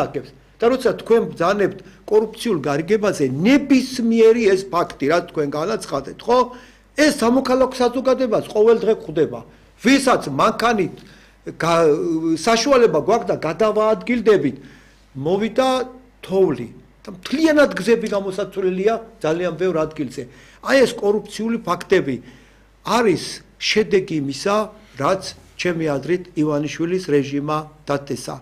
აკებს. და როცა თქვენ ბრძანებთ კორუფციულ გარიგებაზე, ნებისმიერი ეს ფაქტი, რაც თქვენ განაცხადეთ, ხო? ეს სამოქალაქო საზოგადოებას ყოველ დღე ხვდება. ვისაც მანქანით საშუალება გვაქვს და გადავაადგილდებით, მოვიდა თოვლი. და მთლიანად გზები გამოსაცვლელია ძალიან ბევრ ადგილზე. აი ეს კორუფციული ფაქტები არის შედეგი იმისა, რაც ჩემი აზრით ივანიშვილის რეჟიმმა დაწესა.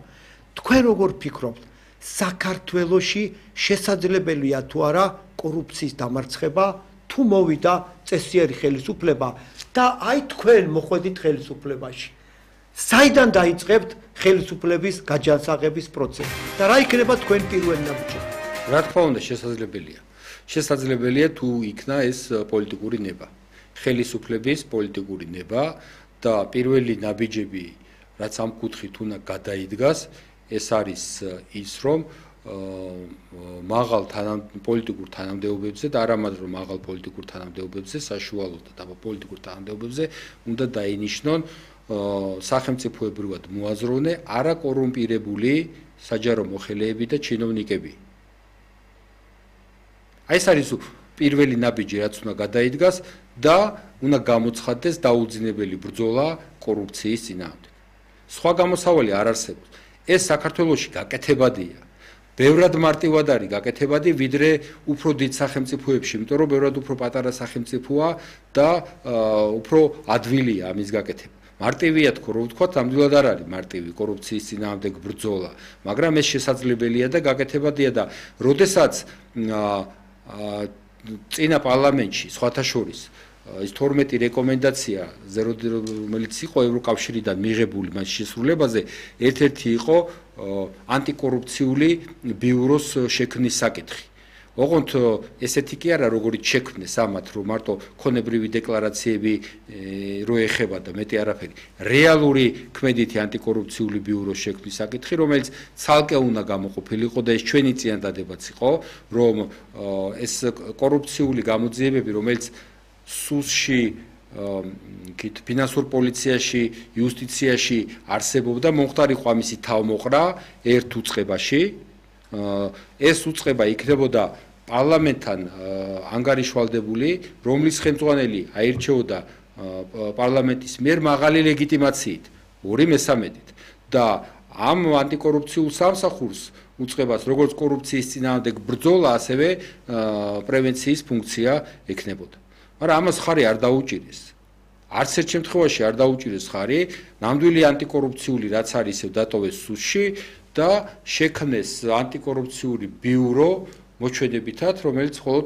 თქვენ როგორ ფიქრობთ, საქართველოში შესაძლებელია თუ არა კორუფციის დამარცხება, თუ მოვიდა წესიერი ხელისუფლება და აი თქვენ მოხვედით ხელისუფლებაში. საიდან დაიწყებთ ხელისუფლების გაჯანსაღების პროცესი და რა იქნება თქვენ პირველი ნაბიჯები? რა თქმა უნდა, შესაძლებელია. შესაძლებელია თუ იქნა ეს პოლიტიკური ნება. ხელისუფლების პოლიტიკური ნება და პირველი ნაბიჯები, რაც ამ კუთხით უნდა გადაიდგას, ეს არის ის, რომ მაღალ პოლიტიკურ თანამდებობებზე და არა მარტო მაღალ პოლიტიკურ თანამდებობებზე, საშუალო და დაბალ პოლიტიკურ თანამდებობებზე უნდა დაინიშნონ სახელმწიფოებრივად მოაზროვნე არაკორუმპირებული საჯარო მოხელეები და ჩინოვნიკები. აი ეს არის პირველი ნაბიჯი, რაც უნდა გადაიდგას და უნდა გამოცხადდეს დაუძინებელი ბრძოლა კორუფციის წინააღმდეგ. სხვა გამოსავალი არ არსებობს. ეს საქართველოში გაკეთებადია. ბევრად მარტივად არის გაკეთებადი, ვიდრე უფრო დიდ სახელმწიფოებში, იმიტომ რომ ბევრად უფრო პატარა სახელმწიფოა და უფრო ადვილია ამის გაკეთება. მარტივია თქო, რომ ვთქვათ, ნამდვილად არ არის მარტივი კორუფციის წინააღმდეგ ბრძოლა, მაგრამ ეს შესაძლებელია და გაკეთებადია და როდესაც წინა პარლამენტში სხვათა შორის ის 12 რეკომენდაცია, რომელიც იყო ევროკავშირიდან მიღებული მას შესრულებაზე, ერთ-ერთი იყო ანტიკორუფციული ბიუროს შექმნის საკითხი. ოღონდ ესეთი კი არა, როგორც შექმნეს ამათ, რომ მარტო ქონებრივი დეკლარაციები რო ეხება და მეტი არაფერი. რეალური ქმედითი ანტიკორუფციული ბიუროს შექმნის საკითხი, რომელიც ცალკე უნდა გამოყოფილიყო და ეს ჩვენი წინადადებაც იყო, რომ ეს კორუფციული გამოძიებები, რომელიც სუსში, ფინანსურ პოლიციაში, იუსტიციაში არსებობდა, მომხდარიყო ამისი თავმოყრა ერთ უწყებაში. ეს უწყება იქნებოდა პარლამენტთან ანგარიშვალდებული, რომლის ხელმძღვანელი აირჩეოდა პარლამენტის მიერ მაღალი ლეგიტიმაციით, 2/3-ით და ამ ანტიკორუფციულ სამსახურს უწყებას, როგორც კორუფციის წინააღმდეგ ბრძოლა, ასევე პრევენციის ფუნქცია ექნებოდა. მაგრამ ამას ხარი არ დაუჭირეს. არც ერთ შემთხვევაში არ დაუჭირეს ხარი, ნამდვილი ანტიკორუფციული რაც არის, ისევ დატოვეს სუსში და შექმნეს ანტიკორუფციული ბიურო მოჩვენებითად, რომელიც მხოლოდ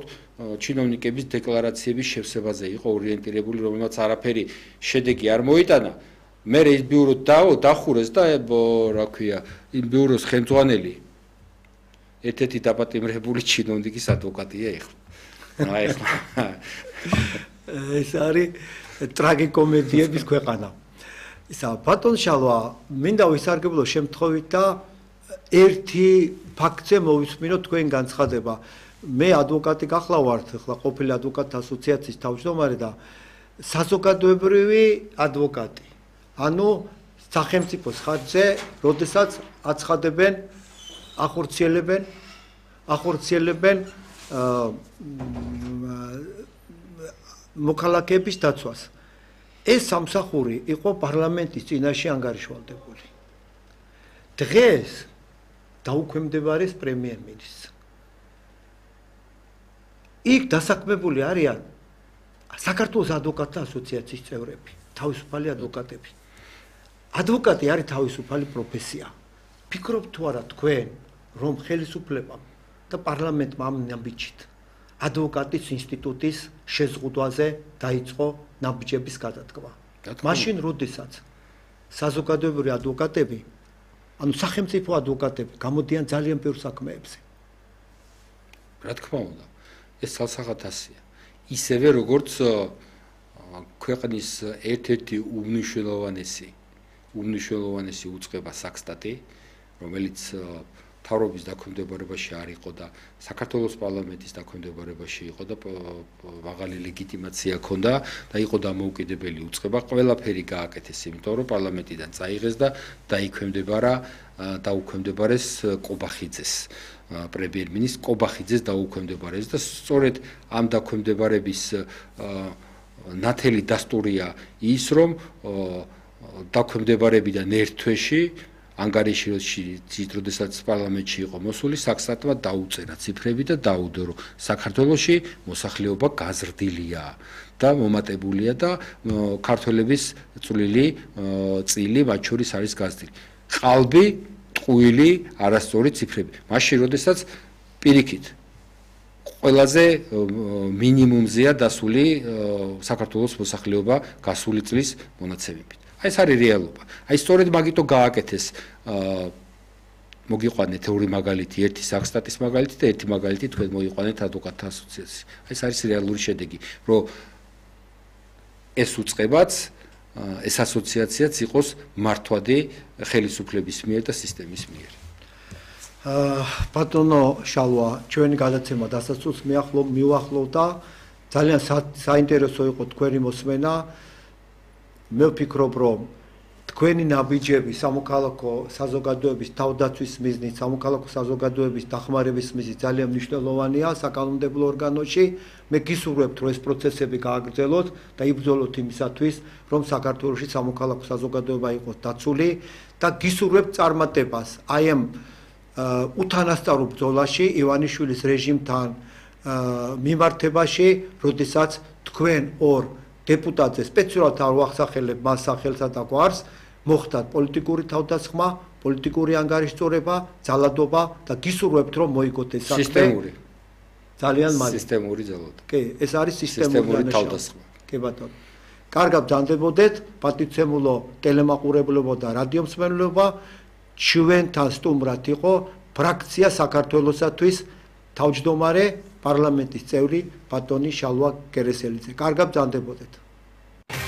ჩინოვნიკების დეკლარაციების შევსებაზე იყო ორიენტირებული, რომელმაც არაფერი შედეგი არ მოიტანა. მე ეს ბიურო დახურეს და რა ქვია, იმ ბიუროს ხელმძღვანელი ერთ-ერთი დაპატიმრებული ჩინოვნიკის ადვოკატია ეხლა. ეს არის ტრაგიკომედიების ქვეყანა. ისა ბატონ შალვა, მინდა ვისარგებლო შემთხვევით და ერთი ფაქტზე მოვისმინოთ თქვენ განცხადება. მე ადვოკატი გახლავართ, ახლა ყოფილი ადვოკატთა ასოციაციის თავმჯდომარე და საზოგადოებრივი ადვოკატი. ანუ სახელმწიფოს ხარჯზე, როდესაც აცხადებენ, ახორციელებენ მოქალაქეების დაცვას. ეს სამსახური იყო პარლამენტის წინაშე ანგარიშვალდებული. დღეს დაუქვემდებარეს პრემიერ-მინისტრს. იქ დასაქმებული არიან საქართველოს ადვოკატთა ასოციაციის წევრები, თავისუფალი ადვოკატები. ადვოკატი არის თავისუფალი პროფესია. ფიქრობთ თუ არა თქვენ, რომ ხელისუფლებამ და პარლამენტმა ამ ნაბიჯით ადვოკატის ინსტიტუტის შეზღუდვაზე დაიწყო ნაბიჯების გადადგმა. მაშინ, როდესაც საზოგადოებრივი ადვოკატები, ანუ სახელმწიფო ადვოკატები გამოდიან ძალიან ბევრ საქმეებზე. რა თქმა უნდა, ეს ცალსახად ასია. ისევე როგორც ქვეყნის ერთ-ერთი უმნიშვნელოვანესი უწყება საქსტატი, რომელიც მთავრობის დაქვემდებარებაში არ იყო და საქართველოს პარლამენტის დაქვემდებარებაში იყო და მაღალი ლეგიტიმაცია ჰქონდა და იყო დამოუკიდებელი უწყება, ყველაფერი გააკეთეს, იმიტომ რომ პარლამენტიდან წაიღეს და დაუქვემდებარეს კობახიძეს. პრემიერ-მინისტრ კობახიძეს დაუქვემდებარეს და სწორედ ამ დაქვემდებარების ნათელი დასტურია ის, რომ დაქვემდებარებიდან ერთ თვეში ანგარიშში, როდესაც პარლამენტში იყო მოსული, საქსტატმა დაუწერა ციფრები და დაუდო, რომ საქართველოში მოსახლეობა გაზრდილია და მომატებულია და ქართველების წილი მათ შორის არის გაზრდილი. ყალბი, ტყუილი, არასწორი ციფრები. მაშინ, როდესაც პირიქით ყველაზე მინიმუმზეა დასული საქართველოს მოსახლეობა გასული წლის მონაცემებით. აი ეს არის რეალობა. აი სწორედ მაგითო გააკეთეს მოგიყვანეთ ორი მაგალითი, ერთი საქსტატის მაგალითი და ერთი მაგალითი თქვენ მოიყვანეთ ადვოკატთა ასოციაციაში. აი ეს არის რეალური შედეგი, რომ ეს უწყებაც ეს ასოციაციაც იყოს მართვადი ხელისუფლების მიერ და სისტემის მიერ. ბატონო შალვა, ჩვენი გადაცემა დასასრულს მივახლოვდა. ძალიან საინტერესო იყო თქვენი მოსმენა. მე ვფიქრობ, რომ თქვენი ნაბიჯები სამოქალაქო საზოგადოების თავდაცვის მიზნით, სამოქალაქო საზოგადოების დახმარების მიზნით ძალიან მნიშვნელოვანია საკანონმდებლო ორგანოში. მე გისურვებთ, რომ ეს პროცესები გააგრძელოთ და იბრძოლოთ იმისათვის, რომ საქართველოში სამოქალაქო საზოგადოება იყოს დაცული და გისურვებთ წარმატებას აი ამ უთანასწორო ბრძოლაში ივანიშვილის რეჟიმთან მიმართებაში, როდესაც თქვენ ორ დეპუტატზე სპეციალურად არ ვახსახელებ მას სახელსა და გვარს, მოხდათ პოლიტიკური თავდასხმა, პოლიტიკური ანგარიშწორება, ძალადობა და გისურვებთ, რომ მოიგოთ ეს სისტემური. ძალიან მალე. სისტემური ძალადობა. კი, ეს არის სისტემური თავდასხმა. კი ბატონო. კარგად ბრძანდებოდეთ, პატივცემულო ტელემაყურებლობა და რადიომსმენელობა, ჩვენთან სტუმრად იყო ფრაქცია საქართველოსათვის თავმჯდომარე პარლამენტის წევრი ბატონი შალვა გერესელიძე. კარგად ბრძანდებოდეთ.